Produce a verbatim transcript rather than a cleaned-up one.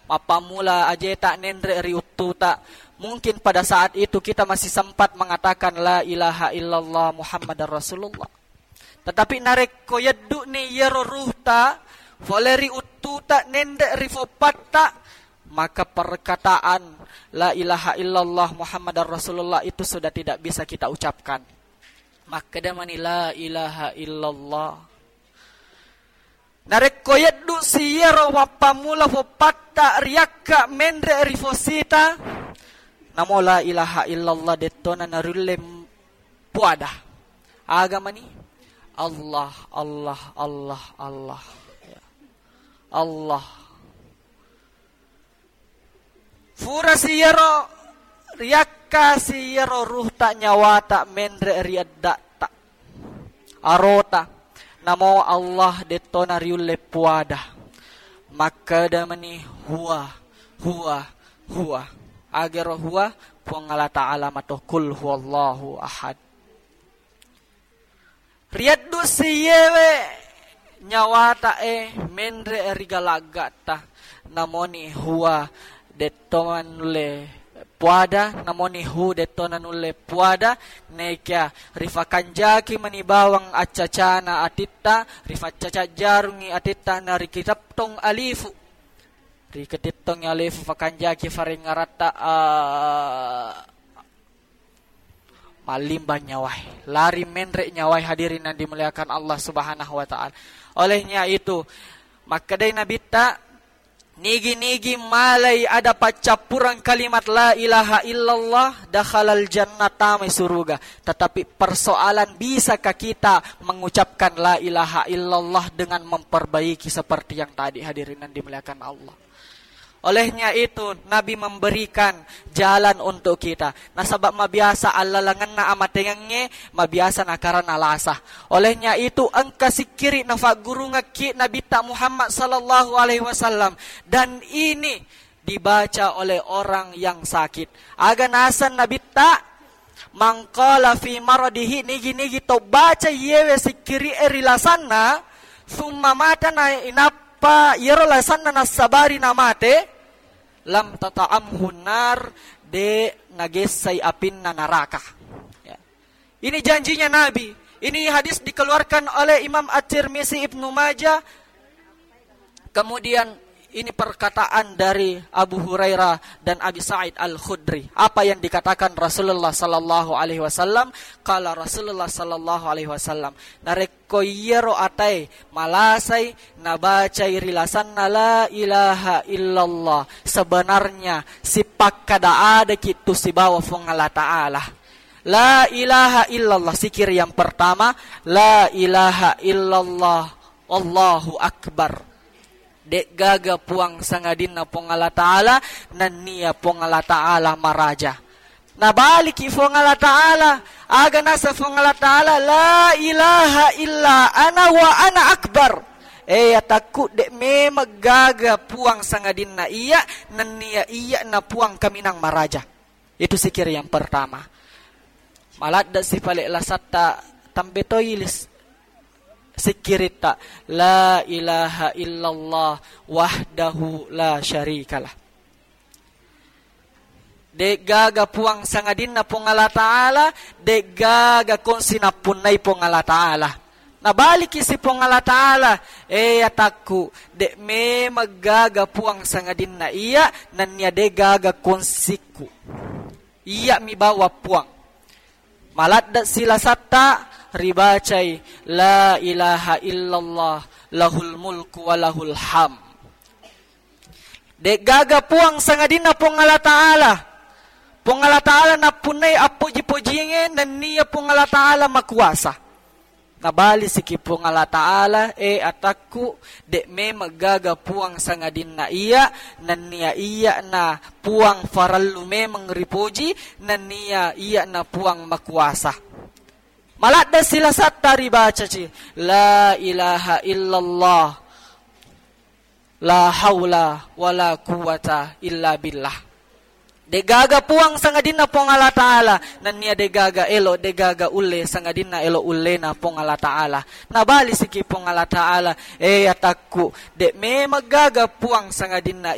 Mappammula ajeta nenre ri uttuta, mungkin pada saat itu kita masih sempat mengatakan, "La ilaha illallah Muhammadar Rasulullah." Tetapi narekko yeddu'ni iyaro ruhta fole ri uttuta nenre ri foppatta, maka perkataan, "La ilaha illallah Muhammadar Rasulullah," itu sudah tidak bisa kita ucapkan. Makkeda mani, "La ilaha illallah." Narekko yeddu si iyaro mappammula foppatta riakka menre ri fosita, namo la ilaha illallah dettona nariulle puada. Aga mani? Allah, Allah, Allah, Allah. Ya. Allah. Fura si iyaro, riakka si iyaro ruhta nyawata menre ri edda'ta, arota, namo Allah dettona riulle puada. Makkeda mani, "Huwa, huwa, huwa." Agero huwa, Puang Allah Ta'ala mato, "Qul huwallahu ahad." Rieddu si iyewe nyawata e menre ri galagga'ta, namoni huwa detto nulle puada, namoni hu detto nanulle puada, nekia rifakanjaki mani bawang accacana atitta, rifaccaca jarungi atitta, na rikitettong alifu. Riketettongi alifu fakanjaki farengngaratta, a, mallimbang nyawai, lari menre nyawai, hadirin yang dimuliakan Allah Subhanahu wa Ta'ala. Olehnya itu, makkedai Nabitta, nigi-nigi malai ada paccappureng kalimat la ilaha illallah, dakhalal jannah, tamai suruga. Tetapi persoalan, bisakah kita mengucapkan la ilaha illallah dengan memperbaiki seperti yang tadi, hadirin yang dimuliakan Allah? Olehnya itu, Nabi memberikan jalan untuk kita. Nasaba mabiasa allalengenna amatengengnge, mabiasa nakarana lasa. Olehnya itu, engka sikkiri nafaggurungekki Nabitta Muhammad sallallahu alaihi wasallam. Dan ini dibaca oleh orang yang sakit. Aga naseng Nabitta? "Man qala fi maradihi," nigi-nigi to baca iyewe sikkiri e ri lasanna, "summa mata," na inappa iyaro lasanna nassabari namate, "lam tata'amhu nar," de nagessai apinna naraka. Ya. Ini janjinya Nabi. Ini hadis dikeluarkan oleh Imam At-Tirmizi, Ibnu Majah, Kemudian ini perkataan dari Abu Hurairah dan Abi Sa'id Al-Khudri. Apa yang dikatakan Rasulullah sallallahu alaihi wasallam? Qala Rasulullah sallallahu alaihi wasallam, narekko iyaro atae malasai nabacai ri lasanna la ilaha illallah, sebenarnya sipakkada adaki tu sibawa Fuang Allah Ta'ala. La ilaha illallah, zikir yang pertama, la ilaha illallah, Allahu Akbar. De'gaga puang sangadinna Puang Allah Ta'ala, nennia Puang Allah Ta'ala maraja. Nabaliki Puang Allah Ta'ala, aga nasa Puang Allah Ta'ala, "La ilaha illa ana wa ana akbar." Eh, atakku, de' memeng gaga puang sangadinna iya, nennia iya na puang kaminang maraja. Itu zikir yang pertama. Maladde' si pale' lasatta, tambe toi lis-, sikkiritta, "La ilaha illallah wahdahu la syarikalah." De'gaga puang sangadinna Puang Allah Ta'ala, de'gaga kongsi nappunnai Puang Allah Ta'ala. Nabaliki si Puang Allah Ta'ala, "Eh, atakku, de' memeng gaga puang sangadinna iya, nennia de'gaga kongsikku. Iya mi bawa puang." Maladde' silasatta ribacai, "La ilaha illallah, lahul mulku wa lahul ham." De'gaga puang sangadinna Puang Allah Ta'ala. Puang Allah Ta'ala nappunnai appoji-pojingnge, nennia Puang Allah Ta'ala makuasa. Nabalisiki Puang Allah Ta'ala, "Eh, atakku, de' memeng gaga puang sangadinna iya, nennia iya na puang farellu memeng ripoji, nennia iya na puang makuasa." Maladde' silasatta ribacaci, "La ilaha illallah, la haula wala quwwata illa billah." De'gaga puang sangadinna Puang Allah Ta'ala, nennia de'gaga elo, de'gaga ulle sangadinna elo ullena Puang Allah Ta'ala. Nabalisiki Puang Allah Ta'ala, "Eh, atakku, de' memeng gaga puang sangadinna